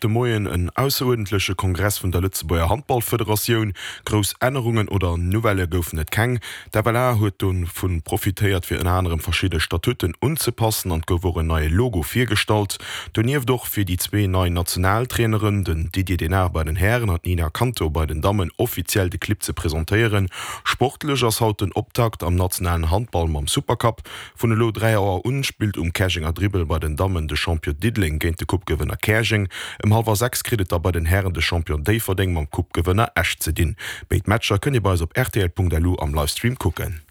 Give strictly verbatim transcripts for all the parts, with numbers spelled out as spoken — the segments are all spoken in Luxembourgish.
de Moien en ausseruerdentleche Kongress vun der Lëtzebuerger Handballfederatioun. Grouss Ännerungen oder Nouvellë goufen et keng. D'F L A huet dovun profitéiert, fir ënner anerem verschidde Statuten unzepassen, an et gouf och en neie Logo virgestallt. Donieft och fir déi zwee nei Nationaltraineren, den Didier Denard bei den Hären an d'Nina Kanto bei den Dammen, offiziell de Clibb ze presentéieren. Sportlech ass haut den Optakt am nationalen Handball mam Supercup. Vun elo dräi Auer un spillt um Käerjenger Dribbel bei den Dammen de Champion Diddeleng géint de Coupe-Gewënner Käerjeng. Ëm hallwer sechs kritt et da bei den Hären de Champion Déifferdeng mam Coupe-Gewënner Esch ze dinn. Béid Matcher kënnt Dir bei eis op rtl Punkt L U am Livestream kucken.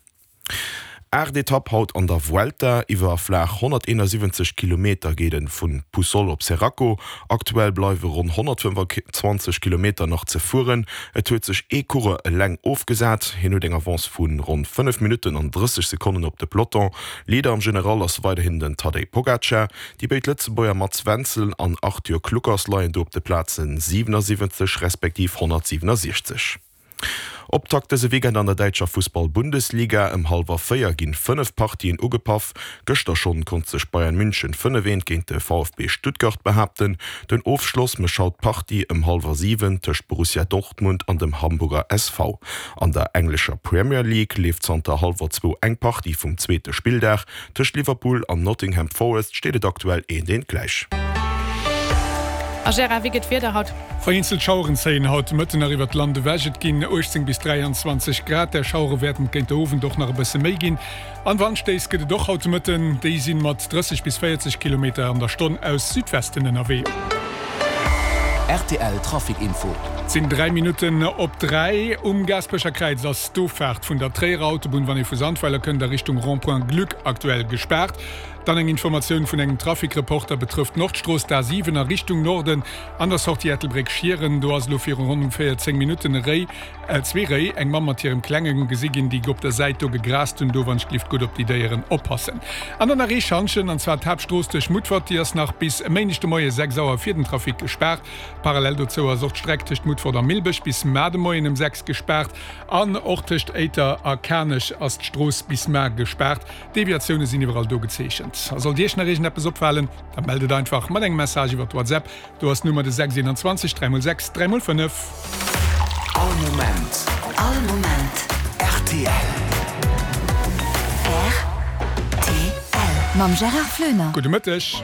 Aacht Etapp haut an der Vuelta. Iwwer flaach honnerteenasiwwenzeg Kilometer geet et vu Puçol op Xeraco. Aktuell bleiwe ronn honnertfënnefanzwanzeg Kilometer nach ze fueren. Et huet sech ee Coureur eleng ofgesat. Hien huet eng Avance vu ronn fënnef Minutten an drësseg Sekonnen op de Peloton. Leader am General ass weiderhin den Tadej Pogacar. Déi béid Lëtzebuerger Mats Wenzel an Arthur Kluckers leien do op de Plazen siwenassiwwenzeg respektiv honnertsiwenassiechzeg. Optakt dëse Weekend an der däitscher Fussball-Bundesliga, Ëm hallwer véier ginn fënnef Partien ugepaff. Gëschter schonn konnt sech Bayern München fënnef eent géint de V F B Stuttgart behaapten. Den Ofschloss mécht haut d'Partie ëm hallwer siwen tëscht Borussia Dortmund an dem Hamburger S V. An der englescher Premier League leeft zanter hallwer zwou eng Partie vum zweete Spilldag. Tëscht Liverpool an Nottingham Forest steet et aktuell eent eent gläich. A Gérard, wéi gëtt d'Wieder haut? Vereenzelt Schaueren zéien haut de Mëtten nach iwwert d'Land ewech. Et ginn uechtzéng bis dräianzwanzeg Grad. Där Schauere wäerten et géint de Owend och nach e bësse méi ginn. An Wandstéiss gëtt et och haut de Mëtten, déi si mat drësseg bis véierzeg Kilometer an der Stonn aus Südwesten ënnerwee. R T L Trafic Info. Et sinn dräi Minutten op dräi. Um Gaasperecher Kräiz ass d'Ofaart vun der Tréierer Autobunn, wann ee vu Sandweiler kënnt, a Richtung Rond-point Glück aktuell gespaart. Dann eng Informatioun vun engem Trafic-Reporter, betrëfft d'Nordstrooss, d'A siwen a Richtung Norden an der Sortie Ettelbréck-Schieren. Do ass elo viru ronn ongeféier zéng Minutten e Réi, zwee Réi, eng Mamm mat hirem Klengen gesi ginn, déi op der Säit do gegraast hunn. Do wann ech gelift gutt op déi Déieren oppassen. An dann nach ee Schantjen, an zwar d'Haaptstrooss duerch Mutfert, déi ass nach bis e Méindeg de Moie sechs Auer fir den Trafic gespaart. Parallel dozou ass och d'Streck tëscht Mutfert a Millbech bis mar de Moien ëm sechs gespaart an och tëscht Éiter a Kanech ass d'Strooss bis mar gespaart. Deviatioune sinn iwwerall do gezeechent. A sollt Iech nach iergendeppes opfalen, da mellt et einfach mat engem Message iwwer WhatsApp. Do ass d'Nummer de sechs eenanzwanzeg dräi mol sechs dräi mol fënnef. All Moment. All Moment. R T L. R T L. Mam Gérard Floener. Gudde Mëtteg.